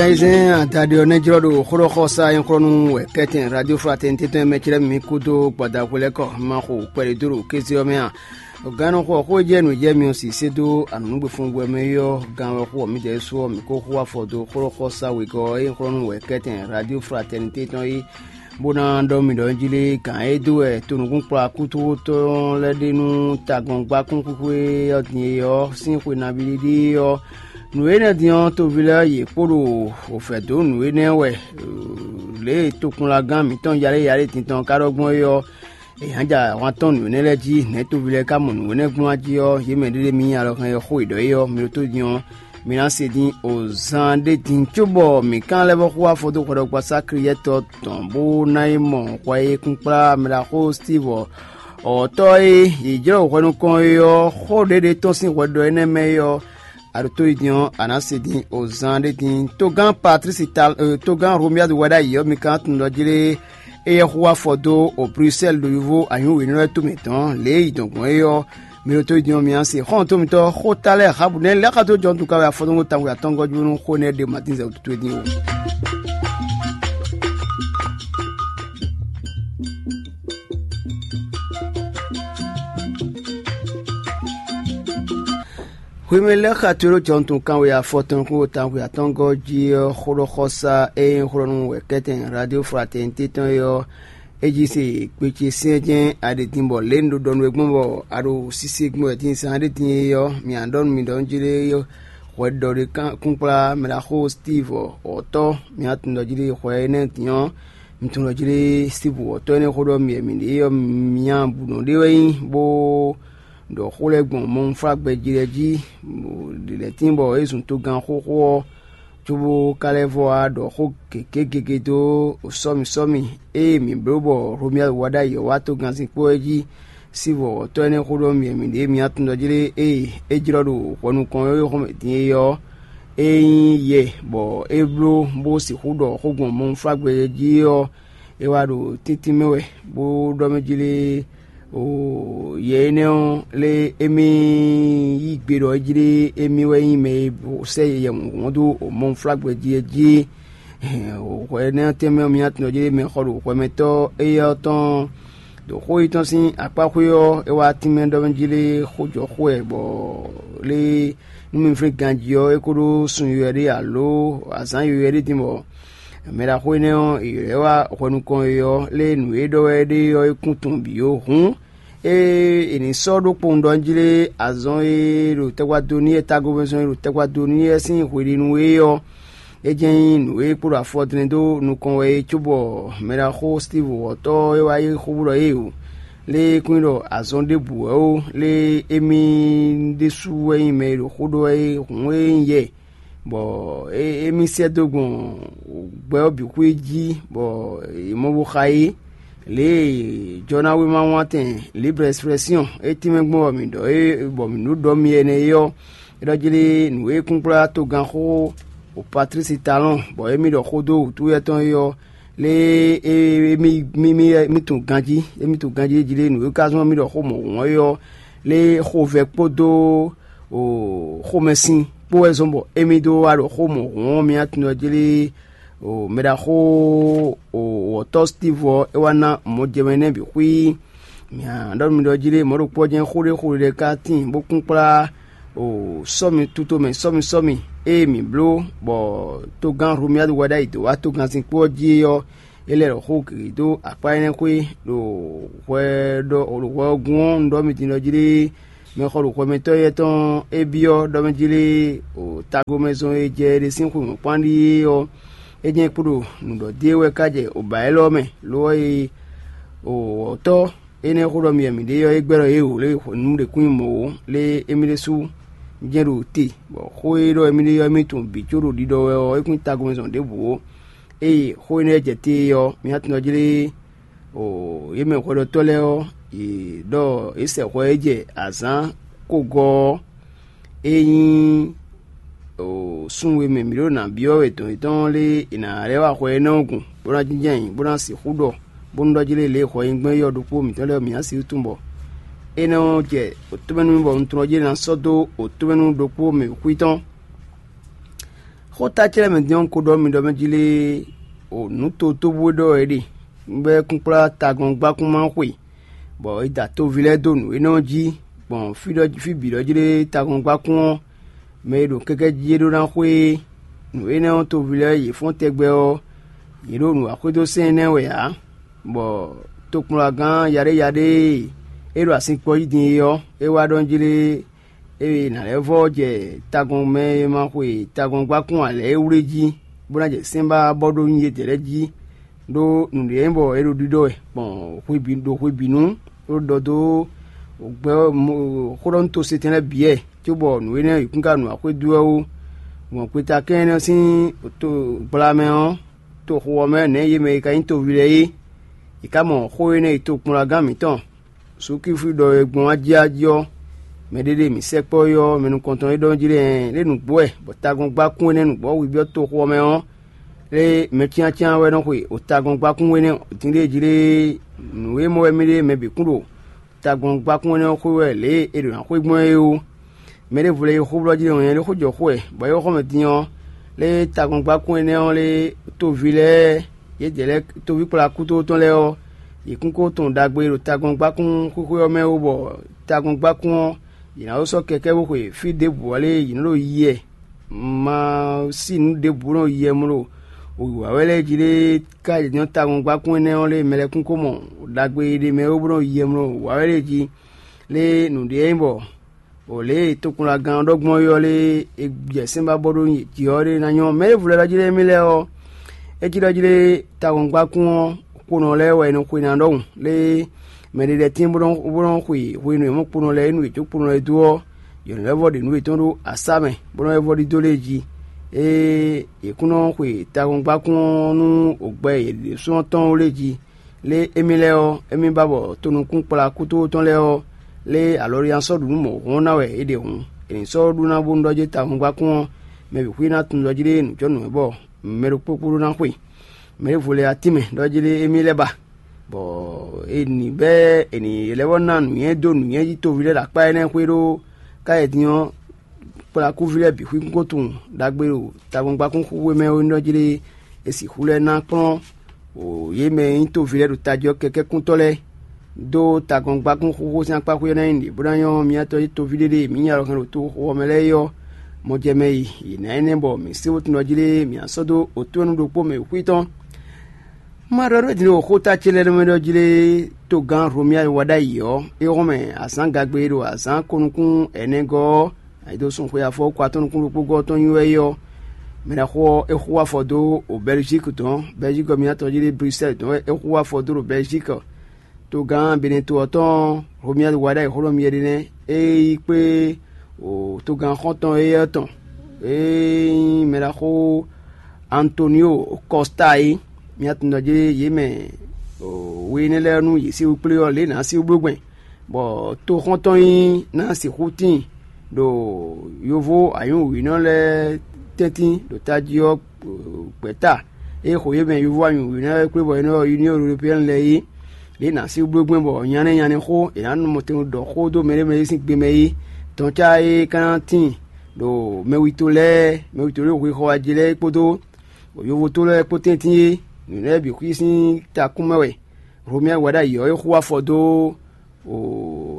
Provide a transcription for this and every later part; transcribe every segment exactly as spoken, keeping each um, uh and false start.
Ayizɛ́n adaɖé ɔ́ nɛ́ jlɔ́ ɖo xóɖɔxɔsá nyɔ̌xlɔ́nú wɛ kɛ́tɛn Radio Fraternité tɔn e mɛ clɛ́ mì mì kúdó gbadakwe lɛ́ɛ kɔ, ma xo kpɛɖé dó ɖo kéze ɔ́ mɛ a? Gannɔxɔ xó e jɛ nǔ jɛ mi ɔ́ sisé dó anǔnúgbefúngbɛ́ mɛ é ɔ́, gan wɛ xó ɔ́ mǐdɛɛ su ɔ́, mǐ ko xú afɔ dó xóɖɔxɔsá wegɔ́ ɔ́ e nyɔ̌xlɔ́nú wɛ kɛ́tɛn Radio Fraternité tɔn é, bó ná ɖɔ mì ɖɔ un jí lé gǎn e dó wɛ tonukúnkplɔ́ akútúwútɔ́ lɛ́ɛ ɖe nú tagɔ́ngbákún xwíxwé ɔ́ din é ɔ́ sín xwe nabíɖiɖi ɔ́, nǔ énɛ́ din ɔ́, toví lɛ́ɛ yě kpo ɖo wǒ vɛ̌ dó nǔ énɛ́ wɛ. Lě e tokpɔnlagán mǐtɔn Yaleyale din tɔn ka ɖɔ gbɔn é ɔ́, è hǎn ja ahwan tɔn nǔ énɛ́ lɛ́ɛ jí. Nɛ̌ toví lɛ́ɛ ka mɔ nǔ énɛ́ gbɔn jí ɔ́, yě mɛ ɖé ɖé mi nyí alɔ hɛn e xó è ɖɔ é ɔ́, mi ɖótó din ɔ́, mi ná se dín o zan ɖé din cóbɔ mǐ kán lɛ́ vɔ́ xú afɔ dó hwɛɖɔgbasá Kliyɛ́tɔ́ tɔn bó ná yi mɔ hwɛ e kunkplá mɛɖaxó Stívu ɔ́, ɔ̌tɔ́ e yě jlɔ́ hwɛ nukɔn é ɔ́, xó ɖěɖé tɔn sín hwɛ ɖɔ énɛ́ mɛ é ɔ́, a ɖo tó yi din ɔ́, a nǎ se dín o zan ɖé din. Togán Patlísi ta togán Romiyádu wɛ ɖ'ayǐ ɔ́, mi ka tunwun ɖɔ jí lé? Éyɛ́ xú afɔ dó o Brusɛ́li ɖo yovo anyǔwěnɔ lɛ́ɛ tomɛ dɔ̌n, lě e yi dɔn gbɔn é ɔ́, mi ɖo tó yi din ɔ́, mi nǎ se xɔ́ntɔn mitɔn xóta lɛ́ɛ Habu nɛ́ lɛ́ xá dó jɔntu ka wɛ afɔtɔ́ngɔ́ tawun atɔ́ngɔ́ jónú xó nɛ́ ɖe Matín zɛ wútu towe dín o. Hwemɛ lɛ́ɛ xa to ɖó jɔnutun kanwe afɔtɔn kpó tanxwe atɔ́ngɔ́ jí ɔ́, xóɖɔxɔsá e nyí xlɔ́nú wɛ kɛ́tɛn Radio Fraternité tɔn é ɔ́, é jí se gbe ce syɛ́nsyɛ́n a ɖe din bɔ lě un ɖo ɖɔ nú we gbɔn bɔ a ɖo sise gbɔn wɛ din zán ɖé din é ɔ́, mǐ nǎ ɖɔ nú mi ɖɔ nú jí lé hwɛ ɖɔ ɖé kúnkplá mɛɖaxó Stívu wɔ̌tɔ́, mǐ nǎ tunwun ɖɔ jí lé hwɛ énɛ́ din ɔ́, un tunwun ɖɔ jí lé Stívu wɔ̌tɔ́ énɛ́ xó ɖɔ mì wɛ mǐ ɖe é ɔ́, mǐ nya bǔ nɔ ɖé wɛ nyí bó ɖɔ xó lɛ́ɛ gbɔn mɔnflágbɛjí lɛ́ɛ jí, ɖi lɛ̌ tíin bɔ é zun togán xóxó ɔ́, cóbó ka lɛ́ vɔ wá ɖɔ xó gěgé gěgé dó sɔ́mi sɔ́mi e mǐ bló bɔ Hlomyɛ́ wá ɖ'ayǐ ɔ́ wá togannzin kpó ɛ jí. Sín vɔ̌wɔ́tɔ́ énɛ́ xó ɖɔ mì wɛ mǐ ɖe mǐ tunwun ɖɔ jí lé ée é jlɔ́ ɖo hwɛ nukɔn e xɔmɛ din é ɔ́, é nyí yɛ bɔ é bló bó sixú ɖɔ xó gbɔn mɔnflágbɛ́ jí ɔ́, é wá ɖo tíntín mɛ wɛ, bó ɖɔ mɛ jí lé, o yɛ énɛ́ ɔ́ lé émí yí gbe ɖɔ é jí lé émí wɛ nyí mɛ e sɛ́ yɛ mɔ̌hun dó mɔnflágbɛ́ jí é jí. Hwɛ énɛ́ ɔ́ tɛnmɛ ɔ́, mi ná tunwun jí lé mɛ xɔ ɖo hwɛmɛtɔ́ éyɛ́ ɔ́ tɔn ɖo xó yětɔn sín akpá xwé ɔ́, é wá tínmɛ ɖɔ mɛ jí lé xó jɔ xó wɛ bɔ lé nú mi flín ganjí ɔ́, é ko ɖó sun yɔywɛ ɖé alo azǎn yɔywɛ ɖé din bɔ mɛ ɖaxó énɛ́ ɔ́, è ylɔ́ ɛ wá hwɛ nukɔn e ɔ́, lé nǔ e ɖɔ wɛ é ɖe ɔ́, é kún tunwun bǐ ó. Hǔn ée è nǐ sɔ́ ɖó kpowun ɖɔ jí lé azɔn e ɖo tɛgbadonu e tagovɛzɔn e ɖo tɛgbadonu e sín hweɖénu é ɔ́, é jɛ́n nyí nǔ e kpo ɖo afɔ dlɛ́n dó nukɔn wɛ é cóbɔ mɛ ɖaxó Stívu wɔ̌tɔ́ e wá yí xó ɖɔ éeǒ, lé é kún nyí ɖɔ azɔn ɖěbǔ wɛ ó, lé émí ɖésú wɛ nyí mɛ e ɖo xó ɖɔ wɛ é hǔn é nyí yɛ, bɔ émí sɛ́ dó gbɔn gbɛ ɔ́ bǐ xwé jí, bɔ è mɔ bó xa é. Lě e Jɔnáwéma wántɛn Liblɛ́siflɛ́syɔn é tínmɛ gbɔn bɔ mǐ ɖɔ é bɔ mǐ ɖó ɖɔ mi ɛnɛ é ɔ́, é ɖɔ jí lé nǔ e kúnkplá togánxó Patlísi Talɔn bɔ émí ɖɔ xó dó wǔtú étɔn é ɔ́, lé émí mí mí mí tunwun ganjí, émí tunwun ganjí jí lé nǔ e ka zɔ́n mì ɖɔ xó mɔ̌hun ɔ́ é ɔ́, lé xovɛ́ kpódó xomɛsin kpó wɛ zɔ́n bɔ émí dó wá ɖo xó mɔ̌hun ɔ́ mì tunwun jí lé mɛ ɖaxó wɔ̌tɔ́ Stívu ɔ́ é wá ná mɔjɛmɛ énɛ́ bǐ xwí. Mǐ ɖɔ nú mi ɖɔ jí lé mɔ̌ ɖokpó ɔ́ jɛ́n xó ɖé xó ɖé ka tíin bó kún kplá sɔ́mi tutomɛ sɔ́mi sɔ́mi ée mǐ bló bɔ togán Hlomyádu wɛ ɖ'ayǐ dó wá togannzin kpó ɔ́ jí é ɔ́, é lɛ́ ɖɔ xó gěgé dó akpá énɛ́ xwé ɖo hwɛ ɖɔ ɖo hwɛ ɔ́ gún ɔ́, un ɖɔ mi din ɖɔ jí lé mɛxɔ ɖo hwɛmɛtɔ́ éyɛ́ tɔn é byɔ́ ɖɔ mɛ jí lé tagomɛzɔn e jɛ é ɖe sín xwe mɔ̌kpán ɖíe ɔ́, é jɛ́n kpo ɖo nǔ ɖɔ dó e wɛ ká jɛ oba élɔ́ mɛ, lo ɔ́, e wɔ̌tɔ́ énɛ́ xó ɖɔ mi wɛ mǐ ɖe ɔ́, é gbɛ́ ɖɔ yě wǒ lé nǔ ɖě kún nyí mɔ̌ ó, lé émí ɖésú jɛ́n ɖo te, bɔ xó e ɖɔ émí ɖe ɔ́, émí tunwun bǐ có ɖo ɖiɖɔ wɛ ɔ́, é kún nyí tagɔ́mɛzɔn ɖěbǔ ó. Ée xó énɛ́ jɛ te ɔ́, mi ná tunwun jí lé yě mɛ hwɛɖɔtɔ́ lɛ́ɛ ɔ́, yě ɖɔ yě sɛ hwɛ e jɛ azǎn kogɔ́ ɔ́, é nyí sun e mɛ mǐ ɖo nǎ byɔ́ wɛ dɔn yětɔn lé è nǎ lɛ́ wá hwɛ énɛ́ ɔ́ gɔn, bó ná jínjɔ́n ayǐ, bó ná sixú ɖɔ, bónú ɖɔ jí lé lě e hwɛ nyi gbɔn é yɔ ɖokpó mǐtɔn lɛ́ɛ mǐ ná sixú tunwun bɔ énɛ́ ɔ́ jɛ wǒtomɛnu bɔ un tlɔ́n jí ná sɔ́ dó wǒtomɛnu ɖokpó mɛ xwí tɔn. Xó ta clɛ́ mɛ din ɔ́, un ko ɖɔ mi ɖɔ mɛ jí lé, o nǔ totóbú e ɖɔ é ɖe, un bɛ́ kúnkplá tagɔ́ngbákún ma xwe, bɔ è da toví lɛ́ɛ dó nǔ énɛ́ ɔ́ jí, gbɔn fí ɖɔ fí bǐ ɖɔ jí lé tagɔ́ngbákún ɔ́, mɛ e ɖo kɛ́kɛ́ jí é ɖó ná xwe é. Nǔ énɛ́ ɔ́, toví lɛ́ɛ yě fɔ́n tɛgbɛ ɔ́, yě ɖo nǔ wa xwedó sɛ́n énɛ́ wɛ ǎ, bɔ tokplɔ́nagán yaɖéyaɖé e é ɖo asin kpɔ́ jí din é ɔ́, é wá ɖɔ jí lé, ée nǎ lɛ́ vɔ́ jɛ tagɔn mɛ e ma xwe tagɔ́ngbákún ǎ lɛ́ɛ é wlé jí, bó ná jɛ sɛ́n ba bɔ ɖó nyi yědɛɛ lɛ́ɛ jí, ɖó nǔɖé nyí bɔ é ɖo ɖiɖɔ wɛ gbɔn hwe bǐ ɖo hwe bǐ nu, bó ɖɔ dó gbɛ xó ɖɔ nú tosetɛn lɛ́ɛ bǐ wɛ, cóbɔ nǔ énɛ́ yi kún ka nǔ wa xwedó wɛ ó. Gbɔn gbeta kɛ́n énɛ́ sín to gbla mɛ ɔ́, toxo ɔ́ mɛ nɛ̌ yě mɛ e ka nyí toví lɛ́ɛ é, yě ká mɔ xó énɛ́ e tokplɔ́nagán mǐtɔn Sukífu ɖɔ e gbɔn ajíají ɔ́, mɛɖé ɖe mǐ sɛkpɔ́ é ɔ́, mɛ nukɔntɔn e ɖɔ jí lɛ́ɛ lé nǔgbó wɛ, bɔ tagɔ́ngbákún énɛ́ nǔgbó hwi byɔ́ toxo ɔ́ mɛ ɔ́, lé mɛ cyáncyán wɛ nɔ xwe o tagɔ́ngbákún énɛ́ din ɖé jí lé. Nǔ e mɔ wɛ mì ɖe mɛ bǐ kún ɖo tagɔ́ngbákún énɛ́ ɔ́ xwe wɛ lě e è ɖǒ ná xwe gbɔn é ó. Mɛ ɖěvo lɛ́ɛ yi xó blɔ́ jí ɖɔ nyɛ ɖé xó jɔ xó wɛ, bɔ é xɔ mɛ din ɔ́, lé tagɔ́ngbákún énɛ́ ɔ́ lé toví lɛ́ɛ, yědɛɛ lɛ́ɛ toví kplá kútótɔn lɛ́ɛ ɔ́, yě kún ko tunwun ɖagbe e ɖo tagɔ́ngbákún xwixwe ɔ́ mɛ ó, bɔ tagɔ́ngbákún ɔ́, yě ná ko sɔ́ kɛkɛ́ bó xwe fí ɖěbǔ ɔ́ lé yě nɔ́ ɖo yi wɛ. Ma sí nǔ ɖěbǔ nɔ yi wɛ mló wǐwá wɛ lɛ́ɛ jí lé, ká yě nyɔ́ tagɔ́ngbákún énɛ́ ɔ́ lé mɛ lɛ́ɛ kún ko mɔ ɖagbe e ɖ'é mɛ ó bó nɔ yi wɛ mló wǐwá wɛ lɛ́ɛ jí lé. Nǔɖé nyí bɔ o lě e tokpɔnlagán ɔ́ ɖɔ gbɔn é ɔ́ lé, è jɛ sɛ́n ba bɔ ɖó jǐ ɔ́ ɖé ná nyɔ́. Mɛ e vlɛ́ ɖɔ jí lé émí lɛ́ɛ ɔ́, é cí ɖɔ jí lé tawungbákún ɔ́, kponɔ lɛ́ɛ wɛ è nɔ xwe ná ɖɔhun lé. Mɛ ɖé lɛ́ɛ tín bó nɔ́ bó nɔ́ xwe hwenu e mɔ̌ kponɔ lɛ́ɛ é nu yě có kponɔ lɛ́ɛ dó ɔ́, yě nɔ lɛ́ vɔ ɖe nǔ yětɔn ɖó asá mɛ, bó nɔ́ lɛ́ vɔ ɖidó lě jí. Ée yě kún nɔ xwe tawungbákún ɔ́ nú ògbɛ yě ɖésúnɔ tɔn ó lě jí. Lé émí lɛ́ɛ ɔ́, émí ba bɔ tonukún kplá kútótɔn lɛ́ɛ ɔ́, lé alɔɖiya sɔ́ ɖu nú mɔ̌ hɔn ná wɛ é ɖe hǔn, è nǐ sɔ́ ɖu ná bónú ɖɔ jí tawungba kún ɔ́, mɛ bǐ xwí ná tunwun ɖɔ jí ɖé nǔjɔnǔ wɛ bɔ mɛ ɖokpó kpó ɖó ná xwe. Mɛ ɖěvo lɛ́ɛ ɔ́, tínmɛ ɖɔ jí ɖé émí lɛ́ɛ ba, bɔ è nǐ bɛ́ è nǐ lɛ́ vɔ́ ná nǔnywɛ́ dó nǔnywɛ́ jí toví lɛ́ɛ ɖo akpá énɛ́ xwé ɖó káyɛdin ɔ́, kplakúví lɛ́ɛ bǐ xwíkún ko tunwun ɖagbe ɖo tagɔ́ngbákún xúxú e mɛ é nyí ɖɔ jí ɖé, è sixú lɛ́ ná kplɔ́n yě mɛ e nyí toví lɛ́ɛ ɖo tají ɔ́ kɛkɛ́kúntɔ́ lɛ́ɛ, dó tagɔ́ngbákún xúxú sín akpá xwé ɔ́ ná nyí nǔɖé bó ná nyɔ́ mǐ atɔ́ jí toví ɖé ɖe mǐ nyi alɔ hɛn ɖo toxo ɔ́ mɛ lɛ́ɛ é ɔ́, mɔ jɛ mɛ yi. Yě ná énɛ́ bɔ mǐ sé wútu nɔ jí ɖé mǐ ná sɔ́ dó otú ɔ́ nú ɖokpó mɛ xwí tɔn. Ma ɖɔ nú we din ɖo xóta ce lɛ́ɛ nú mɛ ɖɔ jí lé, togán Hlomia e wá ɖ'ayǐ ɔ́, é hɔn mɛ azǎn gagbe e ɖo azǎn ko nukún ɛnɛgɔ́ ɔ́, ayǐ dó sun xwe afɔ ko atɔ́ nukún ɖokpó gɔ́ tɔn nyi wɛ é ɔ́, mɛ ɖaxó ɔ́, é xú afɔ dó o Bɛlizíki tɔn, Bɛlizíki ɔ́, mǐtɔn jí lé Brisɛ́li tɔn wɛ é xú afɔ dó ɖo Bɛlizíki. Togán Benɛto ɔ́ tɔn Hlomia e wá ɖ'ayǐ xó nɔ mì ɖe nɛ́, é yi kpé o togán xɔ́ntɔn éyɛ́ tɔn, é nyí mɛ ɖaxó Antonio Kɔsta é. Mía tunwun ɖɔ jí yě mɛ we énɛ́ lɛ́ɛ nú yě sín wú kplé ɔ́, lě nǎ sín wú bló gbɛn, bɔ toxɔ́ntɔn nyí ná sixú tíin ɖo yovo anyǔwǐnɔ lɛ́ɛ tɛ́ntin ɖo tají ɔ́ gbɛ̌ta. É xo yě mɛ yovo anyǔwǐnɔ lɛ́ɛ kplé bɔ è nɔ ylɔ́ Union Européenne lɛ́ɛ é. Lě nǎ sín wú bló gbɛn bɔ nyanɛ́ nyanɛ́ xó è nǎ nɔ mɔtɛn ɖɔ xó dó mɛɖé mɛɖé sín gbe mɛ é. Dɔn cá é ka ná tíin ɖo mɛwito lɛ́ɛ, mɛwito lɛ́ɛ hwexɔ ají lɛ́ɛ kpódó yovoto lɛ́ɛ kpó tɛ́ntin é, nǔ lɛ́ɛ bǐ xwí sín takún mɛ wɛ. Hlomia wɛ ɖ'ayǐ ɔ́, é xú afɔ dó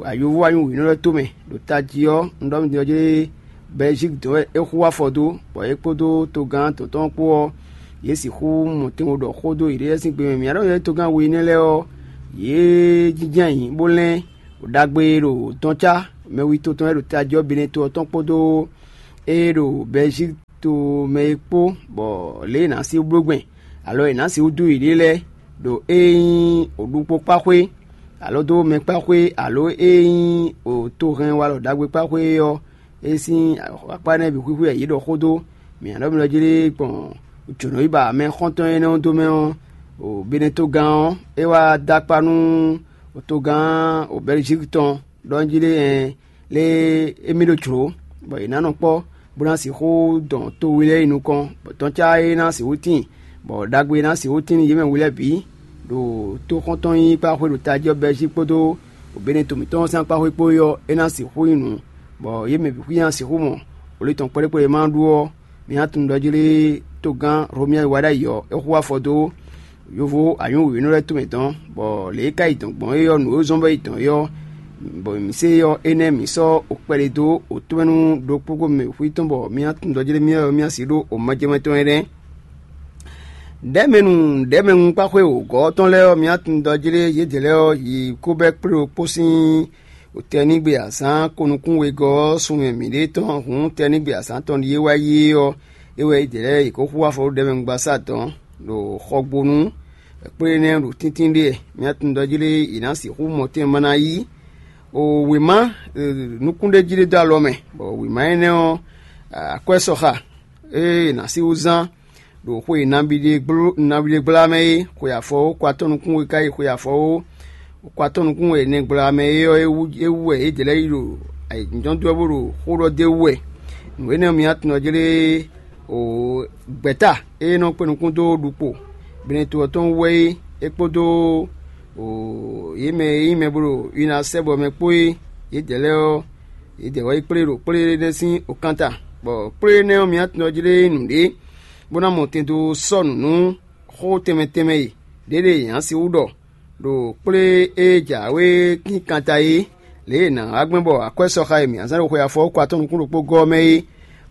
ayovo anyǔwǐnɔ lɛ́ɛ tomɛ ɖo tají ɔ́, un ɖɔ nú din ɔ́ jí Bɛlizíki dɔn wɛ é xú afɔ dó, bɔ é kpódó togán dɔ̌n tɔn kpó ɔ́, yě sixú mɔ tɛnmɛ ɖɔ xó dó yěɖée lɛ́ɛ sín gbe mɛ. Mǐ ɖɔ yě togán we énɛ́ lɛ́ɛ ɔ́, yě jínjɔ́n ayǐ bó lɛ́n ɖagbe e ɖo dɔn cá mɛwito tɔn e ɖo tají ɔ́ Benɛto ɔ́ tɔn kpódó ée ɖo Bɛlizíki to mɛ é kpó, bɔ lě e è nǎ sixú bló gbɛn, alɔ è nǎ sixú dó yěɖée lɛ́ɛ, ɖo ée nyí ɖukpó kpá xwé, alɔ dó mɛ kpá xwé, alɔ ée nyí tohɛn walɔ ɖagbe kpá xwé é ɔ́, é sín akpá énɛ́ bǐ xwíxwí wɛ yě ɖɔ xó dó. Mǐ ná ɖɔ mi ɖɔ jí lé gbɔn jǒnɔyíba mɛ xɔ́ntɔn énɛ́ ɔ́ dó mɛ ɔ́, Benɛtogán ɔ́, é wá dó akpá nú togán Bɛlizíki tɔn ɖɔ jí lé ɛn lé émí ɖo jlǒ, bɔ yě ná nɔ kpɔ́, bó ná sixú dɔn to we lɛ́ɛ yi nukɔn, bɔ dɔn cá é ná sixú tíin, bɔ ɖagbe e ná sixú tíin nú yě mɛ we lɛ́ɛ bǐ, ɖo toxɔ́ntɔn nyí kpáxwé ɖo tají ɔ́ Bɛlizíki kpódó Benɛto mǐtɔn ɔ́ sín akpáxwé kpó é ɔ́, é ná sixú nyí nǔ, bɔ yě mɛ bǐ xwí ná sixú mɔ wǒ tɔn kpɛɖékpɛɖé e ma ɖu ɔ́, Mǐ tunwun ɖɔ jlé togán Romia e wá ɖ'ayǐ ɔ́, é hu afɔ dó yovo anyǔwěnú lɛ́ɛ tomɛ tɔn, bɔ lě e ka yi dɔn gbɔn é ɔ́, nǔ e zɔ́n bɔ yi dɔn é ɔ́, bɔ mǐ se ɔ́, énɛ́ mǐ sɔ́ okpɛɖé dó otɔ́mɛnu ɖokpó mɛ xwí tɔn, bɔ mǐ tunwun ɖɔ jlé mǐ ɔ́, mǐ si ɖó omɛjɛmɛ tɔn é nɛ́. Ɖɛ̌mɛnu ɖɛ̌mɛnu kpáxwé wǒgɔ́ ɔ́ tɔn lɛ́ɛ ɔ́, mǐ tunwun ɖɔ jlé yědɛɛ lɛ́ɛ ɔ́ yi kó bɛ́ kplé ɖokpó sín tɛnígbe azǎn ko nukún wegɔ́ ɔ́ sun mɛ mǐɖée tɔn hǔn tɛnígbe azǎn tɔn ɖíe wá yi é ɔ́, é wɛ yědɛɛ lɛ́ɛ yě kó hu afɔ ɖó ɖɛ̌mɛnu gbasá dɔn ɖo xɔgbónu kplé énɛ́ ɖo tíntín ɖe. Mǐ tunwun ɖɔ jlé yě ná sixú mɔ tɛn ma ná yí o wěma nukúnɖéjí ɖé dó alɔ mɛ, bɔ wěma énɛ́ ɔ́, akwɛ́ sɔxa e è nǎ sixú zán ɖo xwe nabí ɖé gbla mɛ é, xwe afɔwó ko atɔ́ nukún we ka yi xwe afɔwó ko atɔ́ nukún we nɛgbla mɛ é ɔ́, é wú wɛ yědɛɛ lɛ́ɛ yi ɖo ayǐjínjɔ́n dó ɔ́ bó ɖo xó ɖɔ d'é wú wɛ. Nǔ énɛ́ ɔ́, mi tunɔ jlé o gbɛ̌ta e nɔ kpé nukún dó ɖukpo Benɛto ɔ́ tɔn wú wɛ é, é kpódó o yě mɛ e nyí mɛ bó ɖo Winasɛ́bɔ mɛ kpó é, yědɛɛ lɛ́ɛ ɔ́, yědɛɛ wɛ yi kplé ɖo kplé énɛ́ sín okántá, bɔ kplé énɛ́ ɔ́, mi tunɔ jlé nǔɖé bó ná mɔ tɛn dó sɔ́ nǔ nú xó tɛnmɛ tɛnmɛ e ɖěɖe yě ná sixú ɖɔ ɖo kplé e jǎwe kínkanta é, lě e è nǎ wá gbɛn bɔ akwɛ́ sɔxa e mǐ ná zán ɖo xwe afɔwúkɔ atɔ́ nukún ɖokpó gɔ́ ɔ́ mɛ é,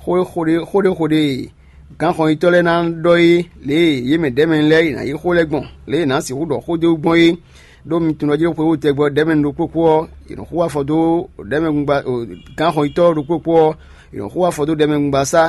xó ɖé xó ɖé e gǎnxɔnyitɔ́ lɛ́ɛ ná ɖɔ é, lě e yě mɛ ɖɛ̌mɛ lɛ́ɛ è nǎ yí xó lɛ́ɛ gbɔn, lě e è nǎ sixú ɖɔ xó dó gbɔn é. Ɖó mi tunwun ɖɔ jlé xwewú tɛgbɛ ɔ́, ɖɛ̌mɛ ɖokpó kpó ɔ́, è nɔ xú afɔ dó ɖɛ̌mɛ gánxɔnyitɔ́ ɖokpó kpó ɔ́, è nɔ xú afɔ dó ɖɛ̌mɛ gbasá.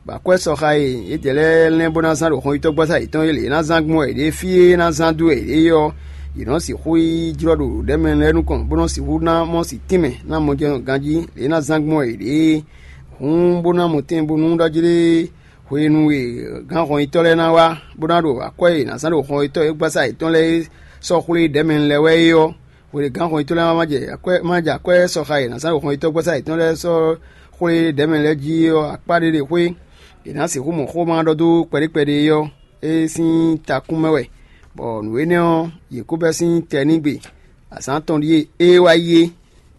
Bɔ akwɛ́ sɔxa e yědɛɛ lɛ́ɛ lɛ́n bó ná zán ɖo xɔnyitɔ́gbasá yětɔn é lě é ná zán gbɔn wɛ yě ɖe fí e é ná zán dó wɛ yě ɖe é ɔ́, yě nɔ sixú yi jlɔ́ ɖo ɖɛ̌mɛ lɛ́ɛ nukɔn, bó nɔ sixú ná mɔ sin tínmɛ ná mɔ jɛ ganjí lě é ná zán gbɔn wɛ yě ɖe é. Hǔn bó ná mɔ tɛn bónú ɖɔ jlé hwenu e gǎnxɔnyitɔ́ lɛ́ɛ ná wá, bó ná ɖo akwɛ́ e è nǎ zán ɖo xɔnyitɔ́ e gbasá yětɔn lɛ́ɛ é sɔ́ xwlé ɖɛ̌mɛ lɛ́ɛ wɛ é ɔ́, hwelěgán xɔnyitɔ́ lɛ́ɛ má jɛ akwɛ́ má jɛ akwɛ́ sɔxa e è nǎ zán ɖo xɔnyitɔ́ gbasá yětɔn lɛ́ɛ sɔ́ xwlé ɖɛ̌mɛ lɛ́ɛ jí é ɔ́, akpá ɖé ɖe xwé è nǎ sixú mɔ xó ma ɖɔ dó kpɛɖékpɛɖé é ɔ́, é sín takún mɛ wɛ, bɔ nǔ énɛ́ ɔ́, yě kó bɛ́ sín tɛ n'i gbe. Azǎn atɔn ɖíe é wá yi é,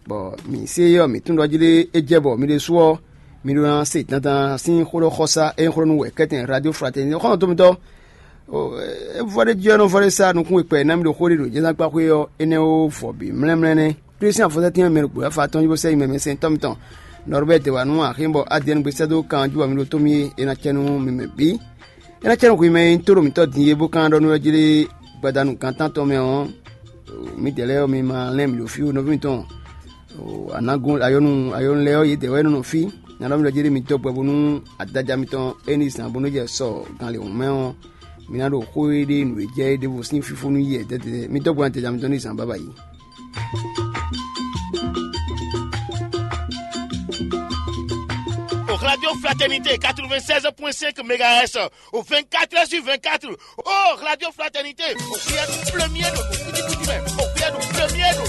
bɔ mǐ se ɔ́, mǐ tunwun ɖɔ jí ɖé é jɛ bɔ mi ɖésú ɔ́, mi ɖó ná se dandan sín xó ɖɔ xɔsá e nyí xó ɖɔ nú wɛ kɛ́tɛn Radio Fraternité xɔ́ntɔn mitɔ́. É vɔ ɖé jí ɔ́ nɔ vɔ ɖé sá nukún e kpɛ ná mi ɖo xó ɖé ɖo jɛ́nsánkpáxwé ɔ́, énɛ́ ó vɔ bǐ mlɛ́mlɛ́ nɛ́. Klísián afɔsɛ́tɛ́n mɛ ɖokpó wɛ fa tɔn bó sɛ́ yi mɛ mɛ sɛntɔ́ mitɔn Nɔrbɛ́ti wǎ nú axi bɔ Adiyɛ́ɛn gbe sɛ́ dó kan ɔ́ jí bɔ mi ɖo tó mì é ná cɛ nú mi mɛ bǐ. É ná cɛ nú hwi mɛ e nyí tóɖo mǐtɔn din é bó ka ná ɖɔ nú ɔ́ jí ɖé gbadanu gan tántɔn mɛ ɔ́, mǐdɛɛ lɛ́ɛ ɔ́, mi ma lɛ́n mǐ ɖo fí ó, nɔví mitɔn. Anagun ayɔnu ayɔnu lɛ́ɛ ɔ́, yědɛɛ wɛ é nɔ nɔ fí. Nya ɖɔ mi ɖɔ jí ɖé mi dó gbɛ bónú adaja mitɔn e ní zǎn bónú jɛ sɔ gan lě hǔn mɛ ɔ́, mi ná ɖo xó e ɖe nǔ e jɛ é ɖěvo sín fífó nú yɛ dɛdɛ. Mi dó gbɛ adaja mitɔn ní zǎn bábá yi. Au Radio Fraternité quatre-vingt-seize point cinq mégahertz, au vingt-quatre heures sur vingt-quatre. Oh, Radio Fraternité, au premier de au premier de.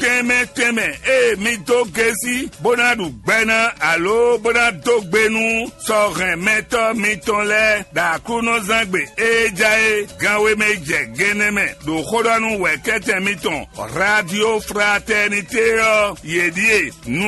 Tɛmɛ tɛmɛ, e mi dó gesi bó ná ɖu gbɛ ná alo bó ná dó gbe nú sɔhɛn mɛtɔ́ mitɔn lɛ́ɛ ɖo Aklúnɔzán gbe e ja é ganwe mɛ jɛ gɛnɛ mɛ ɖo xóɖɔnu wɛ kɛtɛn mitɔn Radio Fraternité ɔ́, yě ɖíe nú